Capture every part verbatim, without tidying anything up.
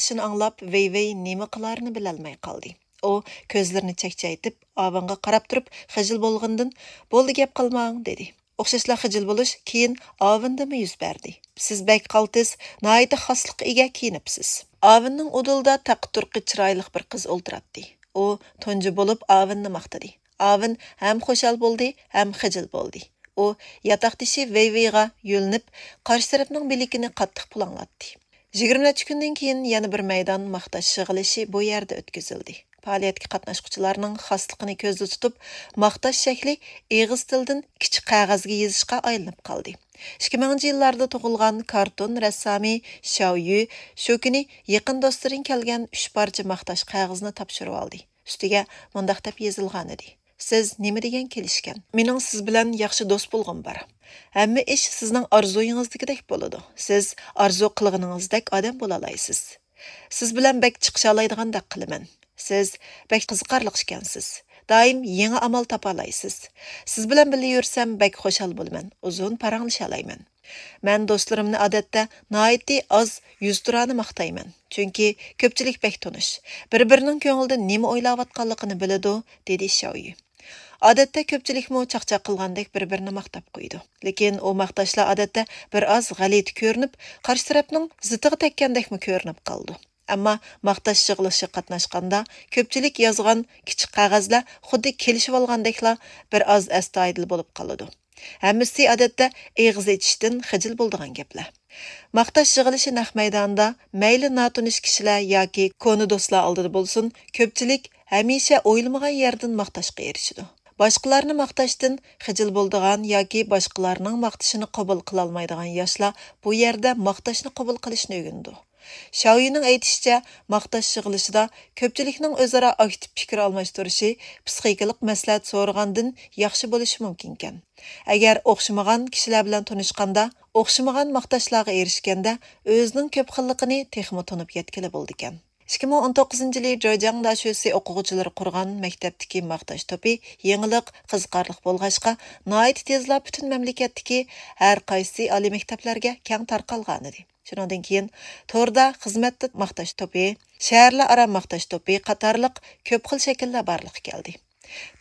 ماختىشىنى ئاڭلاپ، ۋېي ۋېي نېمە قىلارىنى بىلەلمەي قالدى. ئۇ كۆزلىرىنى چەكچەيتىپ، ئاۋېنغا قاراپ تۇرۇپ، خىجىل بولغىنىدىن، «بولدى، گەپ قىلماڭ» دېدى. ئوخشاشلا خىجىل بولۇش كېيىن ئاۋېندىمۇ يۈز بەردى. «سىز بەك قالتىس، ناھايىتى خاسلىققا ئىگە كىيىنىپسىز.» ئاۋېننىڭ ئۇدۇلىدا تەققە-تۇرقى چىرايلىق بىر قىز ئولتۇراتتى. ئۇ تۇنجى بولۇپ ئاۋېننى ماختىدى. ئاۋېن ھەم خۇشال بولدى، ھەم خىجىل بولدى. ئۇ ياتاقدىشى ۋېي ۋېيغا يۆلىنىپ، قارشى تەرەپنىڭ بىلىكىنى قاتتىق پۇلاڭلاتتى. يىگىرمە نەچچە كۈندىن كېيىن يەنە بىر مەيدان ماختاش يىغىلىشى بۇ يەردە ئۆتكۈزۈلدى. پائالىيەتكە قاتناشقۇچىلارنىڭ خاسلىقىنى كۆزدە تۇتۇپ، ماختاش شەكلى ئېغىز تىلىدىن كىچىك قەغەزگە يېزىشقا ئايلىنىپ قالدى. ئىككى مىڭىنچى يىللاردا تۇغۇلغان كارتون رەسسامى شاۋ يۈ شۇ كۈنى يېقىن دوستلىرىدىن كەلگەن ئۈچ پارچە ماختاش قەغىزىنى تاپشۇرۇۋالدى. ئۈستىگە مۇنداق دەپ يېزىلغانىدى: «سىز نېمە دېگەن كېلىشكەن؟ مېنىڭ سىز بىلەن ياخشى دوست بولغۇم بار. ھەممە ئىش سىزنىڭ ئارزۇيىڭىزدىكىدەك بولىدۇ. سىز ئارزۇ قىلغىنىڭىزدەك ئادەم بولالايسىز. سىز بىلەن بەك چىقىشالايدىغاندەك قىلىمەن. سىز بەك قىزىقارلىق ئىكەنسىز. دائىم يېڭى ئامال تاپالايسىز. سىز بىلەن بىللە يۈرسەم بەك خۇشال بولىمەن، ئۇزۇن پاراڭلىشالايمەن. مەن دوستلىرىمنى ئادەتتە ناھايىتى ئاز يۈزتۇرانە ماختايمەن، چۈنكى كۆپچىلىك بەك تونۇش، بىر-بىرىنىڭ كۆڭلىدە نېمە ئويلاۋاتقانلىقىنى بىلىدۇ» دېدى شاۋيۈ. ئادەتتە كۆپچىلىكمۇ چاقچاق قىلغاندەك بىر-بىرىنى ماختاپ قويىدۇ. لېكىن ئۇ ماختاشلار ئادەتتە بىر ئاز غەلىتە كۆرۈنۈپ، قارشى تەرەپنىڭ زىتىغا تەگكەندەكمۇ كۆرۈنۈپ قالىدۇ. ئەمما ماختاش يىغىلىشىغا قاتناشقاندا، كۆپچىلىك يازغان كىچىك قەغەزلەر خۇددى كېلىشىۋالغاندەكلا بىر ئاز ئەستايىدىل بولۇپ قالىدۇ. ھەممىسى ئادەتتە ئېغىز ئېچىشتىن خىجىل بولىدىغان گەپلەر. ماختاش يىغىلىشى نەق مەيدانىدا مەيلى ناتونۇش كىشىلەر ياكى كونا دوستلار ئالدىدا بولسۇن، كۆپچىلىك ھەمىشە ئويلىمىغان يەردىن ماختاشقا ئېرىشىدۇ. باشقىلارنى ماختاشتىن خىجىل بولىدىغان ياكى باشقىلارنىڭ ماختىشىنى قوبۇل قىلالمايدىغان ياشلار بۇ يەردە ماختاشنى قوبۇل قىلىشنى ئۆگىنىدۇ. شاۋيۈنىڭ ئېيتىشىچە، ماختاش يىغىلىشىدا كۆپچىلىكنىڭ ئۆزئارا ئاكتىپ پىكىر ئالماشتۇرۇشى پسىخىكىلىق مەسلىھەت سورىغاندىن ياخشى بولۇشى مۇمكىنكەن. ئەگەر ئوخشىمىغان كىشىلەر بىلەن تونۇشقاندا، ئوخشىمىغان ماختاشلارغا ئېرىشكەندە، ئۆزىنىڭ كۆپ خىللىقىنى تېخىمۇ تونۇپ يەتكىلى بولىدىكەن. ئىككى مىڭ ئون توققۇزىنچى يىلى جېجياڭ داشۆسى ئوقۇغۇچىلىرى قۇرغان مەكتەپتىكى ماختاش توپى يېڭىلىق، قىزىقارلىق بولغاچقا، ناھايىتى تېزلا پۈتۈن مەملىكەتتىكى ھەر قايسى ئالىي مەكتەپلەرگە كەڭ تارقالغانىدى. شۇنىڭدىن كېيىن توردا خىزمەتتە ماختاش توپى، شەھەرلەر ئارا ماختاش توپى قاتارلىق كۆپ خىل شەكىللەر بارلىققا كەلدى.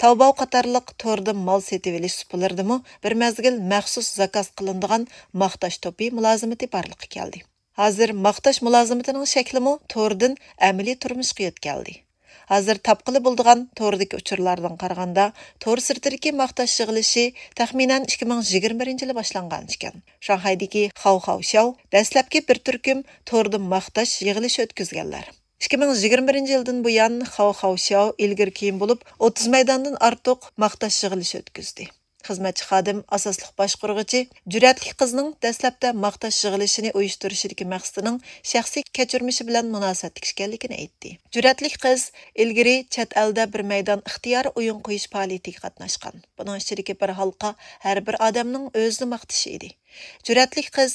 تاۋباۋ قاتارلىق توردا مال سېتىۋېلىش سۇپىلىرىدىمۇ بىر مەزگىل مەخسۇس زاكاز قىلىنىدىغان ماختاش توپى مۇلازىمىتى بارلىققا كەلدى. ھازىر ماختاش مۇلازىمىتىنىڭ شەكلىمۇ توردىن ئەمەلىي تۇرمۇشقا يۆتكەلدى. ھازىر تاپقىلى بولىدىغان توردىكى ئۇچۇرلاردىن قارىغاندا، تور سىرتىدىكى ماختاش يىغىلىشى تەخمىنەن ئىككى مىڭ يىگىرمە بىرىنچى يىلى باشلانغان ئىكەن. شاڭخەيدىكى خاۋ خاۋ شياۋ دەسلەپكى بىر تۈركۈم توردا ماختاش يىغىلىشى ئۆتكۈزگەنلەر. ئىككى مىڭ يىگىرمە بىرىنچى يىلدىن بۇيان خاۋ خاۋ شياۋ ئىلگىرى كېيىن بولۇپ ئوتتۇز مەيداندىن ئارتۇق ماختاش يىغىلىشى ئۆتكۈزدى. خىزمەتچى خادىم، ئاساسلىق باشقۇرغۇچى، جۈرئەتلىك قىزنىڭ دەسلەپتە ماختاش يىغىلىشىنى ئۇيۇشتۇرۇشىدىكى مەقسىتىنىڭ شەخسىي كەچۈرمىشى بىلەن مۇناسىۋەتلىك ئىكەنلىكىنى ئېيتتى. جۈرئەتلىك قىز ئىلگىرى چەت ئەلدە بىر مەيدان ئىختىيارىي ئويۇن قويۇش پائالىيىتىگە قاتناشقان. بۇنىڭ ئىچىدىكى بىر ھالقا ھەر بىر ئادەمنىڭ ئۆزىنى ماختىشى ئىدى. جۈرئەتلىك قىز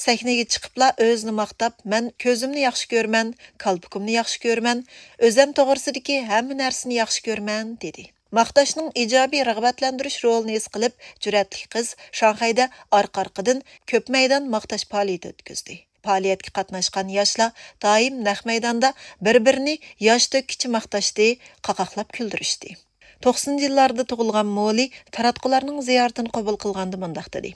سەھنىگە چىقىپلا ئۆزىنى ماختاپ، «مەن كۆزۈمنى ياخشى كۆرىمەن، كالپۇكۇمنى ياخشى كۆرىمەن، ئۆزەم توغرىسىدىكى ھەممە نەرسىنى ياخشى كۆرىمەن» دېدى. ماختاشنىڭ ئىجابىي رىغبەتلەندۈرۈش رولىنى ھېس قىلىپ، جۈرئەتلىك قىز شاڭخەيدە ئارقا-ئارقىدىن كۆپ مەيدان ماختاش پائالىيىتى ئۆتكۈزدى. پائالىيەتكە قاتناشقان ياشلار دائىم نەق مەيداندا بىر-بىرىنى ياش تۆككىچە ماختاشتى، قاقاقلاپ كۈلدۈرۈشتى. توقسىنىنچى يىللاردا تۇغۇلغان مولى تاراتقۇلارنىڭ زىيارىتىنى قوبۇل قىلغاندا مۇنداق دېدى: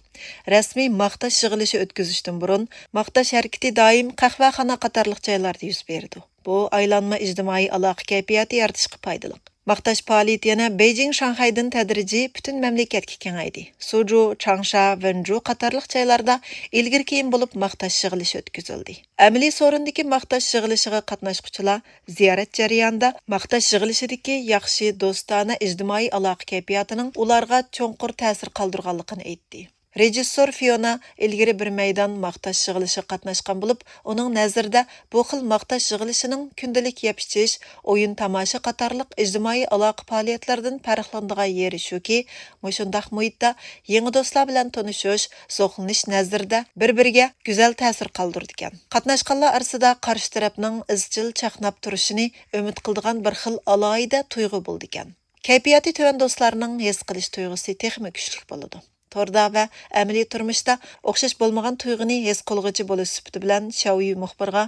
«رەسمىي ماختاش يىغىلىشى ئۆتكۈزۈشتىن بۇرۇن، ماختاش ھەرىكىتى دائىم قەھۋەخانا قاتارلىق جايلاردا يۈز بېرىدۇ. بۇ ئايلانما ئىجتىمائىي ئالاقە كەيپىياتى يارىتىشقا پايدىلىق.» ماختاش پائالىيىتى يەنە بېيجىڭ، شاڭخەيدىن تەدرىجىي پۈتۈن مەملىكەتكە كېڭەيدى. سۇجۇ، چاڭشا، ۋېنجۇ قاتارلىق جايلاردا ئىلگىرى كېيىن بولۇپ ماختاش يىغىلىشى ئۆتكۈزۈلدى. ئەمەلىي سورۇندىكى ماختاش يىغىلىشىغا قاتناشقۇچىلار زىيارەت جەريانىدا ماختاش يىغىلىشىدىكى ياخشى، دوستانە ئىجتىمائىي ئالاقە كەيپىياتىنىڭ ئۇلارغا چوڭقۇر تەسىر قالدۇرغانلىقىنى ئېيتتى. رېژىسسور فىيونا ئىلگىرى بىر مەيدان ماختاش يىغىلىشىغا قاتناشقان بولۇپ، ئۇنىڭ نەزىرىدە بۇ خىل ماختاش يىغىلىشىنىڭ كۈندىلىك يەپ-ئىچىش، ئويۇن-تاماشا قاتارلىق ئىجتىمائىي ئالاقە پائالىيەتلىرىدىن پەرقلىنىدىغان يېرى شۇكى، مۇشۇنداق مۇھىتتا يېڭى دوستلار بىلەن تونۇشۇش، زوقلىنىش نەزىرىدە بىر-بىرىگە گۈزەل تەسىر قالدۇرىدىكەن. قاتناشقانلار ئارىسىدا قارشى تەرەپنىڭ ئىزچىل چاقناپ تۇرۇشىنى ئۈمىد قىلىدىغان بىر خىل ئالاھىدە تۇيغۇ بولىدىكەن. كەيپىياتى تۆۋەن دوستلارنىڭ ھېس قىلىش تۇيغۇسى تېخىمۇ كۈچلۈك بولىدۇ. توردا ۋە ئەمەلىي تۇرمۇشتا ئوخشاش بولمىغان تۇيغۇنى ھېس قىلغۇچى بولۇش سۈپىتى بىلەن شياۋيۈ مۇخبىرغا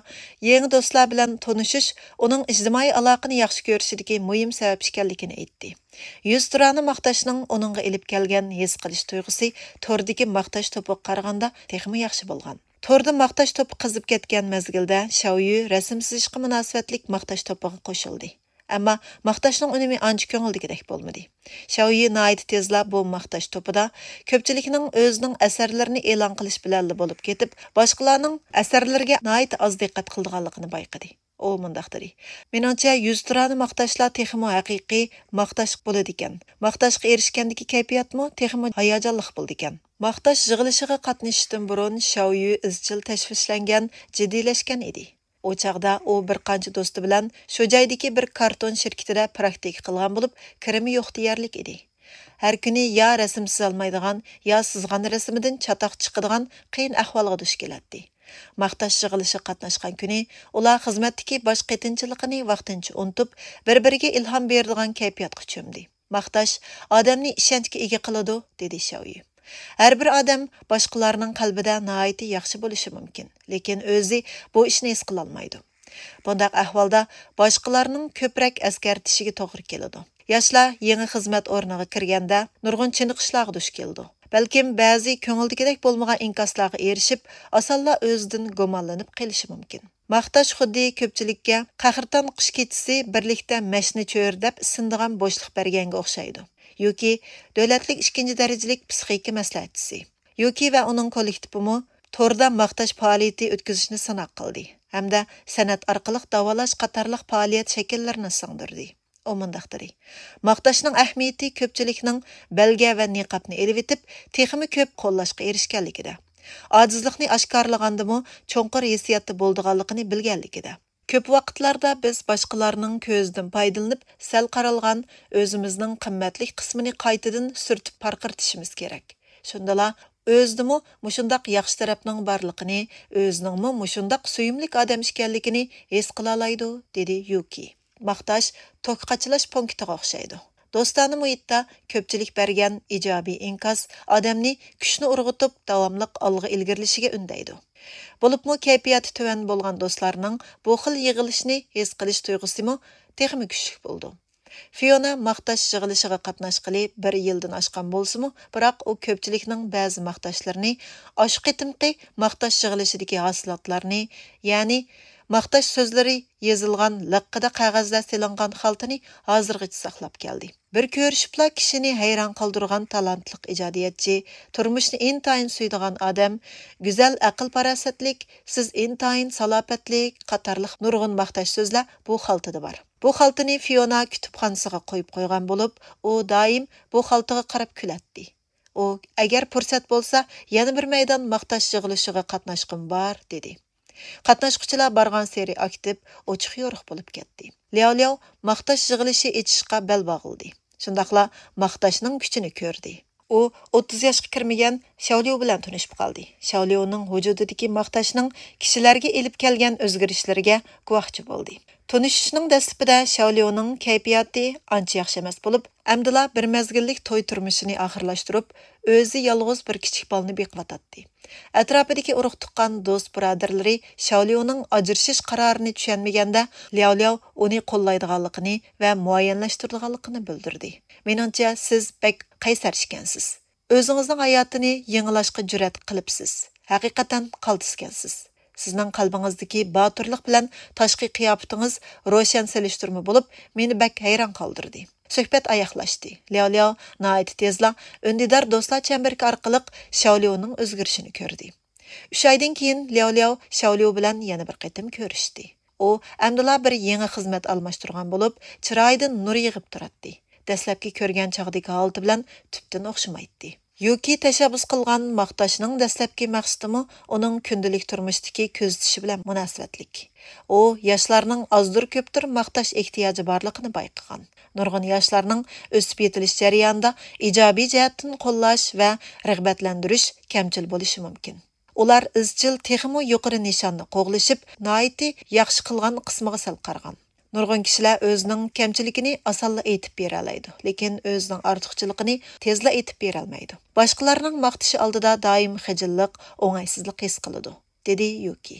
يېڭى دوستلار بىلەن تونۇشۇش ئۇنىڭ ئىجتىمائىي ئالاقىنى ياخشى كۆرۈشىدىكى مۇھىم سەۋەب ئىكەنلىكىنى ئېيتتى. يۈزتۇرانە ماختاشنىڭ ئۇنىڭغا ئېلىپ كەلگەن ھېس قىلىش تۇيغۇسى توردىكى ماختاش توپىغا قارىغاندا تېخىمۇ ياخشى بولغان. توردا ماختاش توپى قىزىپ كەتكەن مەزگىلدە شياۋيۈ رەسىم سىزىشقا مۇناسىۋەتلىك ماختاش توپىغا قوشۇلدى. ئەمما ماختاشنىڭ ئۈنۈمى ئانچە كۆڭۈلدىكىدەك بولمىدى. شياۋيۈ ناھايىتى تېزلا بۇ ماختاش توپىدا كۆپچىلىكنىڭ ئۆزىنىڭ ئەسەرلىرىنى ئېلان قىلىش بىلەنلا بولۇپ كېتىپ، باشقىلارنىڭ ئەسەرلىرىگە ناھايىتى ئاز دىققەت قىلىدىغانلىقىنى بايقىدى. ئۇ مۇنداق دېدى: مېنىڭچە، يۈزتۇرانە ماختاشلار تېخىمۇ ھەقىقىي ماختاش بولىدىكەن. ماختاشقا ئېرىشكەندىكى كەيپىياتمۇ تېخىمۇ ھاياجانلىق بولىدىكەن. ماختاش يىغىلىشىغا قاتنىشىشتىن بۇرۇن شياۋيۈ ئىزچىل تەشۋىشلەنگەن، جىددىيلەشكەن ئىدى. ئۇ چاغدا ئۇ بىر قانچە دوستى بىلەن شۇ جايدىكى بىر كارتون شىركىتىدە پراكتىكا قىلغان بولۇپ، كىرىمى يوق دېيەرلىك ئىدى. ھەر كۈنى يا رەسىم سىزالمايدىغان، يا سىزغان رەسىمىدىن چاتاق چىقىدىغان قىيىن ئەھۋالغا دۇچ كېلەتتى. ماختاش يىغىلىشىغا قاتناشقان كۈنى ئۇلار خىزمەتتىكى باش قېتىنچىلىقىنى ۋاقتىنچە ئۇنتۇپ، بىر-بىرىگە ئىلھام بېرىدىغان كەيپىياتقا چۆمدى. ماختاش ئادەمنى ئىشەنچكە ئىگە قىلىدۇ، دېدى شياۋيۈ. ھەر بىر ئادەم باشقىلارنىڭ قەلبىدە ناھايىتى ياخشى بولۇشى مۇمكىن، لېكىن ئۆزى بۇ ئىشنى ھېس قىلالمايدۇ. بۇنداق ئەھۋالدا باشقىلارنىڭ كۆپرەك ئەسكەرتىشىگە توغرا كېلىدۇ. ياشلار يېڭى خىزمەت ئورنىغا كىرگەندە نۇرغۇن چېنىقىشلارغا دۇچ كېلىدۇ. بەلكىم بەزى كۆڭۈلدىكىدەك بولمىغان ئىنكاسلارغا ئېرىشىپ، ئاسانلا ئۆزىدىن گۇمانلىنىپ قېلىشى مۇمكىن. ماختاش خۇددى كۆپچىلىككە قەھرىتان قىش كېچىسى بىرلىكتە مەشنى چۆرىدەپ ئىسسىنىدىغان بوشلۇق بەرگەنگە ئوخشايدۇ. يۇكى، دۆلەتلىك ئىككىنچى دەرىجىلىك پسىخىكا مەسلىھەتچىسى. يۇكى ۋە ئۇنىڭ كوللېكتىپىمۇ توردا ماختاش پائالىيىتى ئۆتكۈزۈشنى سىناق قىلدى ھەمدە سەنئەت ئارقىلىق داۋالاش قاتارلىق پائالىيەت شەكىللىرىنى سىڭدۈردى. ئۇ مۇنداق دېدى: ماختاشنىڭ ئەھمىيىتى كۆپچىلىكنىڭ بەلگە ۋە نىقابنى ئېلىۋېتىپ، تېخىمۇ كۆپ قوللاشقا ئېرىشكەنلىكىدە، ئاجىزلىقنى ئاشكارىلىغاندىمۇ چوڭقۇر ھېسسىياتتا بولىدىغانلىقىنى بىلگەنلىكىدە. كۆپ ۋاقىتلاردا بىز باشقىلارنىڭ كۆزىدىن پايدىلىنىپ، سەل قارالغان ئۆزىمىزنىڭ قىممەتلىك قىسمىنى قايتىدىن سۈرتۈپ پارقىرىتىشىمىز كېرەك. شۇندىلا ئۆزىدىمۇ مۇشۇنداق ياخشى تەرەپنىڭ بارلىقىنى، ئۆزىنىڭمۇ مۇشۇنداق سۆيۈملۈك ئادەم ئىكەنلىكىنى ھېس قىلالايدۇ، دېدى يۇكى. ماختاش توك قاچىلاش پونكىتىغا ئوخشايدۇ. دوستانە مۇھىتتا كۆپچىلىك بەرگەن ئىجابىي ئىنكاس ئادەمنى كۈچنى ئۇرغۇتۇپ، داۋاملىق ئالغا ئىلگىرىلىشىگە ئۈندەيدۇ. بولۇپمۇ كەيپىياتى تۆۋەن بولغان دوستلارنىڭ بۇ خىل يىغىلىشنى ھېس قىلىش تۇيغۇسىمۇ تېخىمۇ كۈچلۈك بولىدۇ. فىيونا ماختاش يىغىلىشىغا قاتناشقىلى بىر يىلدىن ئاشقان بولسىمۇ، بىراق ئۇ كۆپچىلىكنىڭ بەزى ماختاشلىرىنى، ئاشۇ قېتىمقى ماختاش يىغىلىشىدىكى ھاسىلاتلارنى، يەنى ماختاش سۆزلىرى يېزىلغان لىققىدە قەغەزلەر سېلىنغان خالتىنى ھازىرغىچە ساقلاپ كەلدى. بىر كۆرۈشۈپلا كىشىنى ھەيران قالدۇرغان تالانتلىق ئىجادىيەتچى، تۇرمۇشنى ئىنتايىن سۆيىدىغان ئادەم، گۈزەل ئەقىل-پاراسەتلىك، سىز ئىنتايىن سالاپەتلىك قاتارلىق نۇرغۇن ماختاش سۆزلەر بۇ خالتىدا بار. بۇ خالتىنى فىيونا كۇتۇپخانىسىغا قويۇپ قويغان بولۇپ، ئۇ دائىم بۇ خالتىغا قاراپ كۈلەتتى. ئۇ، ئەگەر پۇرسەت بولسا، يەنە بىر مەيدان ماختاش يىغىلىشىغا قاتناشقۇم بار، دېدى. قاتناشقۇچىلار بارغانسېرى ئاكتىپ، ئوچۇق-يورۇق بولۇپ كەتتى. لياۋ لياۋ ماختاش يىغىلىشى ئېچىشقا بەل باغلىدى. شۇنداقلا ماختاشنىڭ كۈچىنى كۆردى. ئۇ ئوتتۇز ياشقا كىرمىگەن شياۋليۇ بىلەن تونۇشۇپ قالدى. شياۋليۇنىڭ ۋۇجۇدىدىكى ماختاشنىڭ كىشىلەرگە ئېلىپ كەلگەن ئۆزگىرىشلىرىگە گۇۋاھچى بولدى. تونۇشۇشنىڭ دەسلىپىدە شياۋليۇنىڭ كەيپىياتى ئانچە ياخشى ئەمەس بولۇپ، ئەمدىلا بىر مەزگىللىك توي تۇرمۇشىنى ئاخىرلاشتۇرۇپ، ئۆزى يالغۇز بىر كىچىك بالىنى بېقىۋاتاتتى. ئەتراپىدىكى ئۇرۇق-تۇغقان، دوست-بۇرادەرلىرى شياۋليۇنىڭ ئاجرىشىش قارارىنى چۈشەنمىگەندە، لياۋ لياۋ ئۇنى قوللايدىغانلىقىنى ۋە مۇئەييەنلەشتۈرىدىغانلىقىنى بىلدۈردى. مېنىڭچە، سىز بەك قەيسەر ئىكەنسىز. ئۆزىڭىزنىڭ ھاياتىنى يېڭىلاشقا جۈرئەت قىلىپسىز. ھەقىقەتەن قالتىسكەنسىز. سىزنىڭ قەلبىڭىزدىكى باتۇرلۇق بىلەن تاشقى قىياپىتىڭىز روشەن سېلىشتۇرما بولۇپ، مېنى بەك ھەيران قالدۇردى. سۆھبەت ئاياغلاشتى. لياۋ لياۋ ناھايىتى تېزلا ئۈندىدار دوستلار چەمبىرىكى ئارقىلىق شياۋليۇنىڭ ئۆزگىرىشىنى كۆردى. ئۈچ ئايدىن كېيىن لياۋ لياۋ شياۋليۇ بىلەن يەنە بىر قېتىم كۆرۈشتى. ئۇ ئەمدىلا بىر يېڭى خىزمەت ئالماشتۇرغان بولۇپ، چىرايىدىن نۇر يېغىپ تۇراتتى. دەسلەپكى كۆرگەن چاغدىكى ھالىتى بىلەن تۈپتىن ئوخشىمايتتى. يۇكى تەشەببۇس قىلغان ماختاشنىڭ دەسلەپكى مەقسىتىمۇ ئۇنىڭ كۈندىلىك تۇرمۇشتىكى كۆزىتىشى بىلەن مۇناسىۋەتلىك. ئۇ ياشلارنىڭ ئازدۇر-كۆپتۇر ماختاش ئېھتىياجى بارلىقىنى بايقىغان. نۇرغۇن ياشلارنىڭ ئۆسۈپ يېتىلىش جەريانىدا ئىجابىي جەھەتتىن قوللاش ۋە رىغبەتلەندۈرۈش كەمچىل بولۇشى مۇمكىن. ئۇلار ئىزچىل تېخىمۇ يۇقىرى نىشاننى قوغلىشىپ، ناھايىتى ياخشى قىلغان قىسمىغا سەل قارىغان. نۇرغۇن كىشىلەر ئۆزىنىڭ كەمچىلىكىنى ئاسانلا ئېيتىپ بېرەلەيدۇ، لېكىن ئۆزىنىڭ ئارتۇقچىلىقىنى تېزلا ئېيتىپ بېرەلمەيدۇ. باشقىلارنىڭ ماختىشى ئالدىدا دائىم خىجىللىق، ئوڭايسىزلىق ھېس قىلىدۇ، دېدى يۇكى.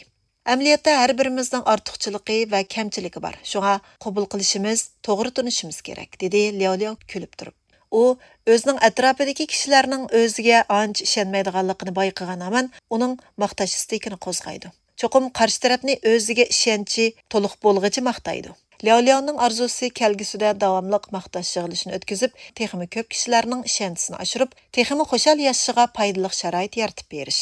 ئەمەلىيەتتە ھەر بىرىمىزنىڭ ئارتۇقچىلىقى ۋە كەمچىلىكى بار، شۇڭا قوبۇل قىلىشىمىز، توغرا تونۇشىمىز كېرەك، دېدى لياۋ لياۋ كۈلۈپ تۇرۇپ. ئۇ ئۆزىنىڭ ئەتراپىدىكى كىشىلەرنىڭ ئۆزىگە ئانچە ئىشەنمەيدىغانلىقىنى بايقىغان ھامان ئۇنىڭ ماختاش ئىستىكىنى قوزغايدۇ. چوقۇم قارشى تەرەپنى ئۆزىگە ئىشەنچى تولۇق بولغىچە ماختايدۇ. لياۋ لياۋنىڭ ئارزۇسى كەلگۈسىدە داۋاملىق ماختاش يىغىلىشىنى ئۆتكۈزۈپ، تېخىمۇ كۆپ كىشىلەرنىڭ ئىشەنچىسىنى ئاشۇرۇپ، تېخىمۇ خۇشال ياشىشىغا پايدىلىق شارائىت يارىتىپ بېرىش.